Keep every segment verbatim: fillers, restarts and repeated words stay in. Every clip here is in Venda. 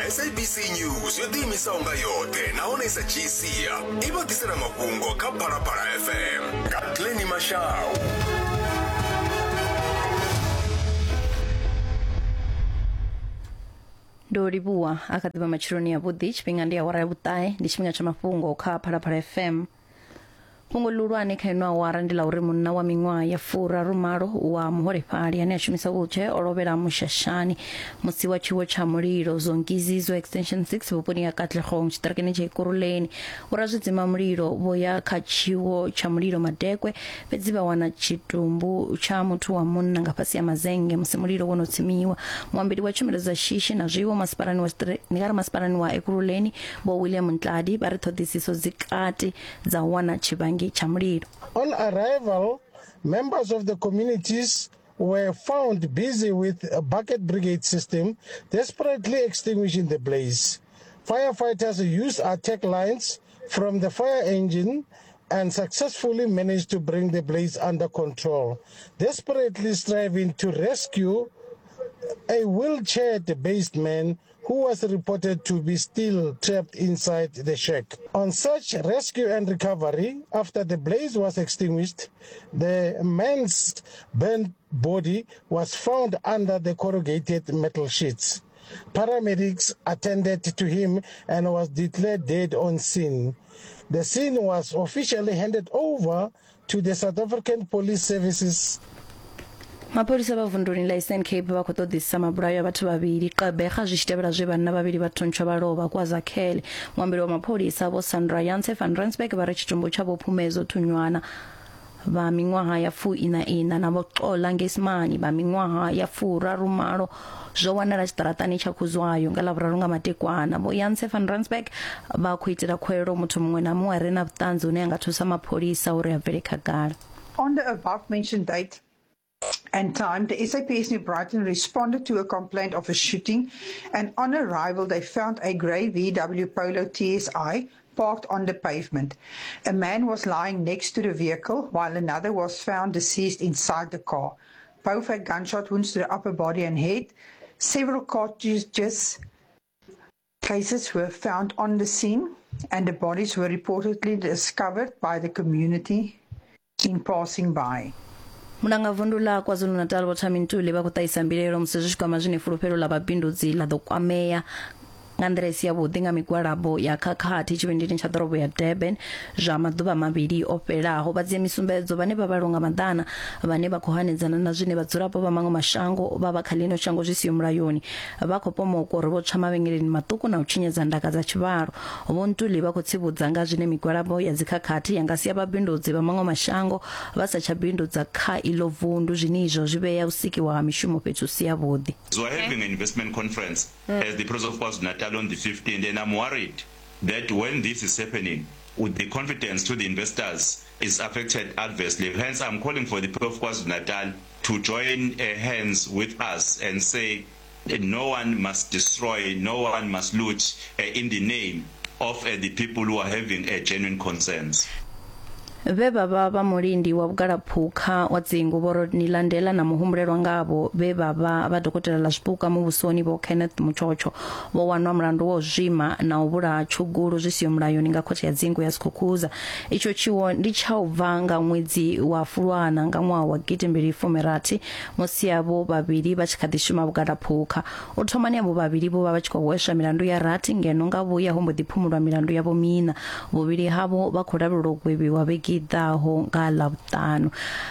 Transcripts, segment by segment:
S A B C News yo ḓiimisaho nga yoṱhe nahone i sa dzhii sia i vha ḓisela mafhungo kha Phalaphala F M nga Glenny Mashau. Ndo livhuwa a kha ḓivha matsheloni ya vhuḓi, tshifhinga ndi awara ya vhuṱahe, ndi tshifhinga tsha mafhungo kha Phalaphala F M. Fhungo ḽihulwane kha ino awara ndi ḽa uri munna wa miṅwaha ya furarumalo wa muholefhali ane a shumisa wheelchair o lovhela mushashani musi wa tshiwo tsha mulilo Zonkizizwe Extension six vhuponi ha Katlehong tshiṱirikini tsha Ekurhuleni. Vhorazwidzima mulilo vho ya kha tshiwo tsha mulilo madekwe, fhedzi vha wana tshitumbu tsha muthu wa munna nga fhasi ya mazenge musi mulilo wo no tsimiwa. Muambeli wa tshumelo dza shishi na zwiwo masipalani wa ndi nga ri masipalani wa Ekurhuleni Vho William Ntladi vha ri ṱhoḓisiso dzi kati dza u wana tshivhangi. On arrival, members of the communities were found busy with a bucket brigade system, desperately extinguishing the blaze. Firefighters used attack lines from the fire engine and successfully managed to bring the blaze under control, desperately striving to rescue a wheelchair-based man who was reported to be still trapped inside the shack. On search, rescue and recovery, after the blaze was extinguished, the man's burnt body was found under the corrugated metal sheets. Paramedics attended to him and was declared dead on scene. The scene was officially handed over to the South African Police Services. Mapholisa vha vunduni ḽa Eastern Cape vha khou ṱoḓisisa mabulayo a vhathu vhavhili Gqeberha zwi tshi tevhela zwe vhanna vhavhili vha thuntshwa vha lovha KwaZakhele. Muambeli wa mapholisa Vho Sandra Janse van Rensburg vha ri tshitumbu tsha Vho Phumezo Thunywana vha miṅwaha ya fuiṋa iṋa na Vho Xola Ngesimani vha miṅwaha ya furarumalo zwo wanala tshiṱaratani tsha Khuzwayo nga Ḽavhuraru nga madekwana. Vho Janse van Rensburg vha khou itela khuwelelo muthu muṅwe na muṅwe a re na vhuṱanzi hune a nga thusa mapholisa uri a bvele khagala. On the above mentioned date and time, the S A P S New Brighton responded to a complaint of a shooting, and on arrival they found a grey V W Polo T S I parked on the pavement. A man was lying next to the vehicle, while another was found deceased inside the car. Both had gunshot wounds to the upper body and head. Several cartridges cases were found on the scene, and the bodies were reportedly discovered by the community in passing by. Mulanga vundu ḽa KwaZulu-Natal Vho Thami Ntuli vha khou ṱahisa mbilaelo musi zwi tshi kwama zwine fulufhelo ḽa vhabindudzi ḽa ḓo kwamea nga nḓila i si yavhuḓi nga migwalabo ya khakhathi tshivhindini tsha ḓorobo ya Durban zwa maḓuvha mavhili o fhelaho. Vha dzhia misumbedzo vhane vha vhalwa nga maḓana vhane vha khou hanedzana na zwine vhadzulapo vha maṅwe mashango vha vha kha ḽino shango zwi siho mulayoni vha khou pomokwa uri vho tswa mavhengeleni maṱuku na u tshinyadza ndaka dza tshivhalo. Vho Ntuli vha khou tsivhudza nga zwine migwalabo ya dzikhakhathi ya nga sia vhabindudzi vha maṅwe mashango vha sa tsha bindudza kha iḽo vundu, zwine izwo zwi vhea u sikiwa ha mishumo fhethu si yavhuḓi. So we're having an investment conference mm. as the President of KwaZulu-Natal on the fifteenth, and I'm worried that when this is happening, with the confidence to the investors is affected adversely. Hence, I'm calling for the people of KwaZulu-Natal to join uh, hands with us and say that no one must destroy, no one must loot uh, in the name of uh, the people who are having uh, genuine concerns. Vhe vha vha vha mulindi wa vhugalaphukha wa dzingu Vho Rodney Landela na muhumbulelwa ngavho vhe vha vha vha dokotela ḽa zwipuka muvhusoni Vho Kenneth Mutshotsho vho wanwa mulandu wa u zwima na u vhulaha tshugulu zwi siho mulayoni nga khothe ya dzingu ya Skukuza. Itsho tshiwo ndi tsha u bva nga ṅwedzi wa Fulwana nga ṅwaha wa gidi mbili fumi rathi musi avho vhavhili vha tshi kha ḓi shuma vhugalaphukha. U thomani avho vhavhili vho vha vha tshi khou hweswa milandu ya rathi ngeno nga vhuya ho mbo ḓi phumulwa milandu yavho miṋa. Vhuvhili havho vha khou lavhelelwa u gwevhiwa vhege ḓaho nga Ḽavhuṱanu.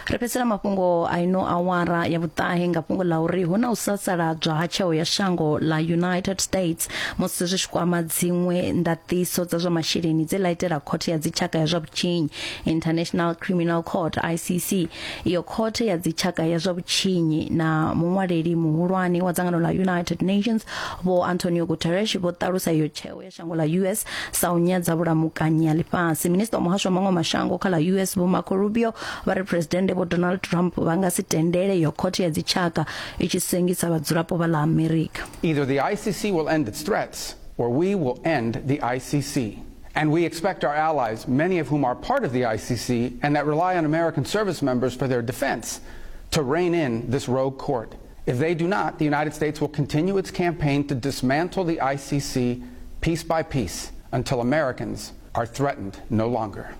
Ri fhedzisela mafhungo a ino awara ya vhuṱahe nga fhungo ḽa uri hu na u sasaladzwa ha tsheo ya shango ḽa United States musi zwi tshi kwama dziṅwe ndaṱiso dza zwa masheleni dze ḽa itela khothe ya dzitshaka ya zwa vhutshinyi International Criminal Court I C C. Iyo khothe ya dzitshaka ya zwa vhutshinyi na muṅwaleli muhulwane wa dzangano ḽa United Nations Vho Antonio Guterres vho ṱalusa iyo tsheo ya shango ḽa U S sa u nyadza vhulamukanyi ha ḽifhasi. Minista wa muhasho wa maṅwe mashango kha ḽa U S Vho Marco Rubio vha ri Presidennde Vho Donald Trump vha nga si tendele yo khothe ya dzitshaka i tshi sengisa vhadzulapo vha ḽa Amerika. Either the I C C will end its threats or we will end the I C C. And we expect our allies, many of whom are part of the I C C and that rely on American service members for their defense, to rein in this rogue court. If they do not, the United States will continue its campaign to dismantle the I C C piece by piece until Americans are threatened no longer.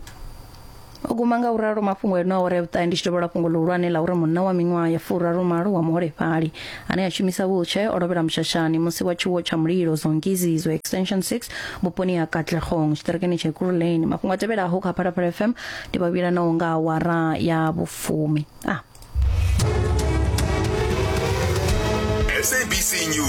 O guma nga uralo mafhungo eno awara ya vhuṱahe ndi tshi tovhola fhungo ḽihulwane ḽa uri munna wa miṅwaha ya furaru malo wa muholefhali ane a shumisa wheelchair o lovhela mushashani musi wa tshiwo tsha mulilo Zongizizwe Extension six vhuponi ha Katlehong tshiṱirikini tsha Ekurhuleni. Mafhungo a tevhelaho kha Phalaphala F M ndi vhavhila naho nga awara ya vhufumi. Ah. S A B C News.